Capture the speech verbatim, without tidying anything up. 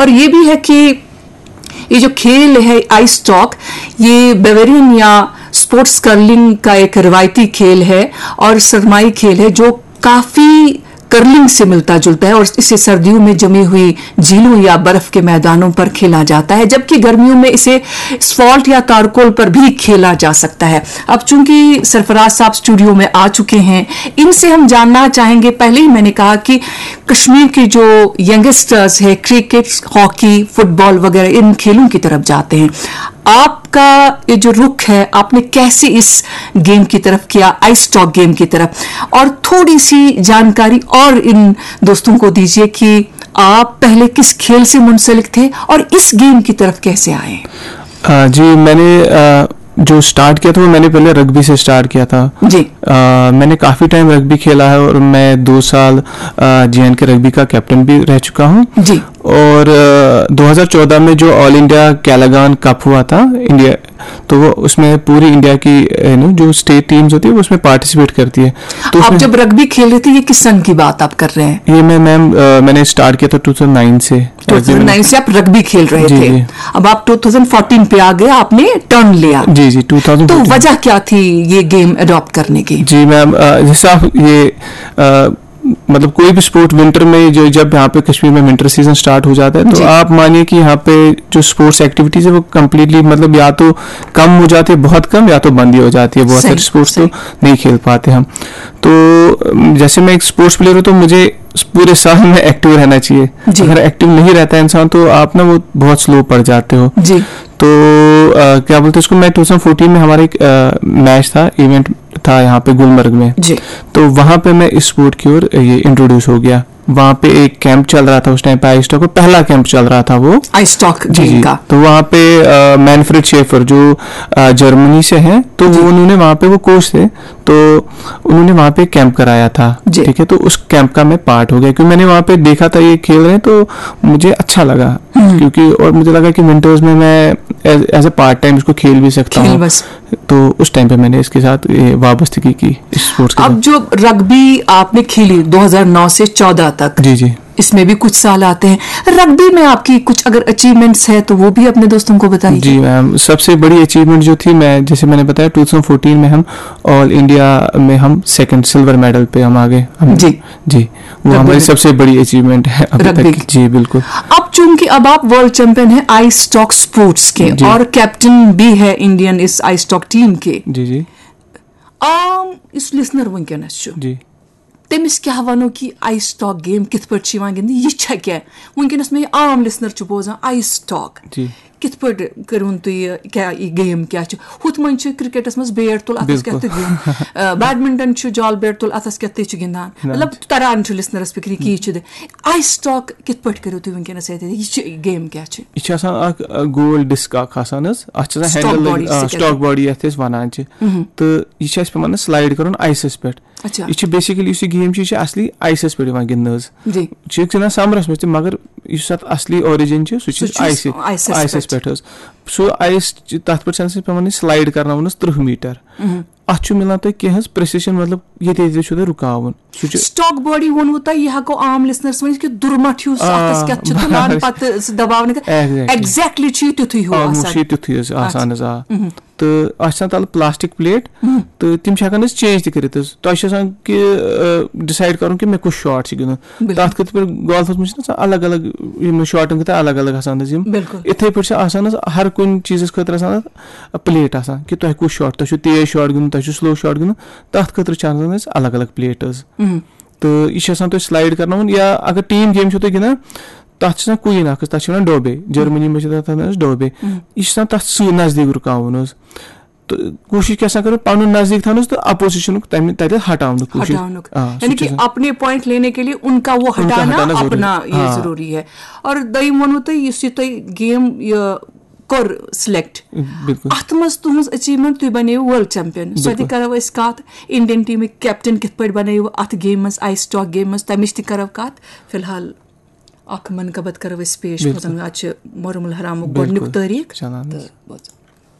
और ये भी है कि ये जो खेल है आइस स्टॉक, ये बेवेरियन या स्पोर्ट्स कर्लिंग का एक रिवायती खेल है और सरमाई खेल है जो काफ़ी कर्लिंग से मिलता जुलता है और इसे सर्दियों में जमी हुई झीलों या बर्फ के मैदानों पर खेला जाता है, जबकि गर्मियों में इसे स्फॉल्ट या तारकोल पर भी खेला जा सकता है। अब चूंकि सरफराज साहब स्टूडियो में आ चुके हैं, इनसे हम जानना चाहेंगे। पहले ही मैंने कहा कि कश्मीर के जो यंगस्टर्स है, क्रिकेट, हॉकी, फुटबॉल वगैरह इन खेलों की तरफ जाते हैं। आपका ये जो रुख है, आपने कैसे इस गेम की तरफ किया, आइस स्टॉक गेम की तरफ, और थोड़ी सी जानकारी और इन दोस्तों को दीजिए कि आप पहले किस खेल से मुंसलिक थे और इस गेम की तरफ कैसे आए? अ, जी, मैंने अ, जो स्टार्ट किया था, वो मैंने पहले रग्बी से स्टार्ट किया था। जी। अ, मैंने काफ़ी टाइम रग्बी खेला है और मैं दो साल जे एंड के रग्बी का कैप्टन भी रह चुका हूँ। जी। और अ, दो हज़ार चौदह में जो ऑल इंडिया कैलागान कप हुआ था इंडिया, तो वो उसमें पूरी इंडिया की, यू नो, जो स्टेट टीम्स होती है, वो उसमें पार्टिसिपेट करती है। तो आप उसमें जब रग्बी खेल रहे थे, ये किस सन की बात आप कर रहे हैं? ये मैं मैम अ, मैंने स्टार्ट किया था टू थाउजेंड नाइन से। टू थाउजेंड नाइन से आप रग्बी खेल रहे जी, थे। जी। अब आप टू थाउजेंड फोर्टीन पे आ गए, आपने टर्न लिया। जी, जी, टू थाउजेंड। तो वजह क्या थी ये गेम अडॉप्ट करने की? जी मैम, अ, जैसे आप ये अ, मतलब कोई भी स्पोर्ट विंटर में, जो जब यहाँ पे कश्मीर में विंटर सीजन स्टार्ट हो जाता है, तो जी। आप मानिए कि यहाँ पे जो स्पोर्ट्स एक्टिविटीज है, वो कम्प्लीटली, मतलब, या तो कम हो जाती है, बहुत कम, या तो बंद ही हो जाती है। बहुत सही, सारे स्पोर्ट्स तो सही। नहीं खेल पाते हम। तो अम, जैसे मैं एक स्पोर्ट्स प्लेयर हूँ, तो मुझे पूरे साल में एक्टिव रहना चाहिए। जी। अगर एक्टिव नहीं रहता है इंसान, तो आप ना, वो बहुत स्लो पड़ जाते हो। जी। तो अ, क्या बोलते हैं इसको, मैं टू थाउजेंड फोर्टीन में हमारा एक मैच था, इवेंट था यहाँ पे गुलमर्ग में। जी। तो वहाँ पे मैं इस स्पोर्ट की ओर ये इंट्रोड्यूस हो गया। वहाँ पे एक कैंप चल रहा था उस टाइम पे, आइस स्टॉक का पहला कैंप चल रहा था वो। आइस स्टॉक जी, गेम जी। का। तो वहाँ पे अ, मैनफ्रेड शेफर, जो अ, जर्मनी से हैं, तो जी। वो, उन्होंने वहाँ पे, वो कोच थे, तो उन्होंने वहाँ पे कैंप कराया था। जी। ठीक है, तो उस कैंप का मैं पार्ट हो गया, क्योंकि मैंने वहाँ पे देखा था ये खेल रहे हैं, तो मुझे अच्छा लगा। क्योंकि और मुझे लगा कि विंटर्स में मैं एज ए पार्ट टाइम इसको खेल भी सकता खेल हूँ। बस। तो उस टाइम पे मैंने इसके साथ ये वाबस्तगी की, इस स्पोर्ट्स के अब साथ। जो रग्बी आपने खेली दो हज़ार नौ से चौदह तक, जी, जी। इसमें भी कुछ साल आते हैं। रग्बी में आपकी कुछ अगर अचीवमेंट्स है, तो वो भी अपने दोस्तों को बताइए। जी मैम, सबसे बड़ी अचीवमेंट जो थी, मैं, जैसे मैंने बताया, टू थाउजेंड फोर्टीन में हम ऑल इंडिया में हम सेकंड सिल्वर मेडल पे हम आ गए। हम जी। जी, वो रग्बी हमारी में। सबसे बड़ी अचीवमेंट है अभी रग्बी तक। की। जी, बिल्कुल। अब चूंकि अब आप वर्ल्ड चैंपियन हैं आइस स्टॉक स्पोर्ट्स के, जी। और कैप्टन भी है इंडियन इस आइस स्टॉक टीम के। जी, जी। आम इस लिसनर वंकनस छु, जी। تٔمِس کیٛاہ وَنو کہِ آیِس سٹاک گیم کِتھ پٲٹھۍ چھِ یِوان گِنٛدنہٕ؟ یہِ چھا کیٛاہ؟ وٕنکیٚنَس مےٚ یہِ عام لِسنَر چھُ بوزان، آیِس سٹاک۔ جی۔ کِتھ پٲٹھۍ کٔرۍوُن تُہۍ یہِ، کیٛاہ یہِ گیم کیٛاہ چھِ؟ ہُتھ منٛز چھِ کرکٹَس منٛز بیٹ تُل، اَتھَس کیٛاہ بِلکُل۔ تہٕ گِنٛد۔ آ، بیڈمِنٹَن چھُ جال بیٹ تُل، اَتھَس کیٛاہ تہٕ چھُ گِنٛدان۔ نہ۔ مطلب تَران چھُ لِسنَرَس فِکرِ کہِ یہِ چھُ دِ-، آیِس سٹاک کِتھ پٲٹھۍ کٔرِو تُہۍ وٕنکیٚنَس اَتہِ؟ یہِ چھِ گیم کیٛاہ چھِ؟ یہِ چھِ آسان اَکھ، آ، گول ڈِسک اَکھ آسان حظ، اَتھ چھِ آسان سٹاک ہینڈل باڈی لٔگِتھ، آ، سۭتۍ سٹاک باڈی یَتھ أسۍ وَنان چھِ۔ مہم۔ تہٕ یہِ چھِ اَسہِ پٮ۪وان حظ سلایڈ کَرُن آیسَس پٮ۪ٹھ۔ اچھا۔ یہِ چھِ بیسِکٔلی، یُس یہِ گیم چھِ، یہِ چھِ اَصلی آیسَس پٮ۪ٹھ یِوان گِنٛدنہٕ حظ۔ جی۔ چھِ أسۍ گِنٛدان سَمرَس منٛز تہِ، مگر یُس اَتھ اَصلی اوریجن چھِ، سُہ چھِ سُہ چھُ آیسہِ، آیسَس آیسَس پٮ۪ٹھ۔ پٮ۪ٹھ حظ۔ سُہ آیِس چھِ، تَتھ پٮ۪ٹھ چھِ آسان اَسہِ پٮ۪وان یہِ سلایڈ کَرناوُن حظ تٕرٛہ میٖٹر۔ مہم۔ اَتھ چھُ مِلان تۄہہِ کینٛہہ حظ پرٛیسیشَن، مطلب ییٚتہِ ییٚتہِ چھُ تۄہہِ رُکاوُن۔ سُہ چھُ سٹاک باڈی ووٚنوُ تۄہہِ، یہِ ہٮ۪کو عام لِسنَرَس ؤنِتھ کہِ دُرمَٹھ ہیوٗ سُہ آ، اَتھَس کیٛاہ چھِ تُلان، بَرابَر۔ پَتہٕ سُہ دَباونہٕ کیٛاہ۔ Exactly۔ Exactly چھُ یہِ تیُتھُے ہیوٗ Almost آسان۔ چھُ یہِ تیُتھُے حظ آسان حظ، آ۔ مہم۔ تہٕ اَتھ چھِ آسان تَلہٕ پلاسٹک پلیٹ، مہم۔ تہٕ تِم چھِ ہٮ۪کان أسۍ چینج تہِ کٔرِتھ حظ۔ تۄہہِ چھِ آسان کہِ، آ، ڈِسایڈ کَرُن کہِ مےٚ کُس شاٹ چھُ گِنٛدُن۔ بِلکُل۔ تَتھ خٲطرٕ پٮ۪ٹھ گولفَس منٛز چھِنہ آسان الگ الگ، یِم شاٹَن خٲطرٕ الگ الگ آسان حظ یِم۔ بِلکُل۔ یِتھَے پٲٹھۍ چھِ آسان حظ ہر کُنہِ چیٖزَس خٲطرٕ آسان اَتھ پلیٹ آسان کہِ تۄہہِ کُس شاٹ، تۄہہِ چھُو تیز شاٹ گِنٛدُن، تۄہہِ چھُو سلو شاٹ گِنٛدُن، تَتھ خٲطرٕ چھِ آسان حظ الگ الگ پلیٹ حظ۔ مہم۔ تہٕ یہِ چھِ آسان تۄہہِ سلایڈ کَرناوُن، یا اگر ٹیٖم گیم چھو تُہۍ گِنٛدان، تَتھ چھِ آسان کُیِن اَکھ حظ، تَتھ چھِ وَنان ڈوبے، جرمنی منٛز چھِ تَتھ وَنان حظ ڈوبے۔ مہم۔ یہِ چھِ آسان تَتھ سۭتۍ نزدیٖک رُکاوُن حظ۔ تہٕ کوٗشِش کیٛاہ سا کَرُن، پَنُن نزدیٖک تھاونَس تہٕ اَپوزِشَنُک تَمہِ تَتٮ۪تھ ہٹاونُک کوٗشِش۔ ہٹاونُک۔ آ، سُہ یعنی چھُ کہ آسان۔ اپنے پوائنٹ لینے کے لیے ان کا وہ ان کا ہٹانا ہٹانا ضروری۔ اپنا یہ ہاں۔ ضروری ہے۔ اور دوٚیِم ووٚنوُ تۄہہِ، یُس یہِ تۄہہِ گیم یہِ کوٚر سلیکٹ، بِلکُل۔ اَتھ منٛز تُہٕنٛز اچیومنٹ، تُہۍ بَنیوٕ ورلڈ چیمپین۔ سۄ تہِ بِلکُل۔ کَرو أسۍ کَتھ، انڈین ٹیٖمٕکۍ کیپٹن کِتھ پٲٹھۍ بَنیوٕ اَتھ گیمہِ منٛز، آیِس سٹاک گیمہِ منٛز، تَمِچ تہِ کَرو کَتھ۔ فی الحال اَکھ منقبت کَرو أسۍ پیش، بِلکُل۔ بوزان اَتھ چھِ محرم الحرام بِلکُل۔ گۄڈٕنیُک تٲریٖخ۔ چلان حظ۔ تہٕ بوزو۔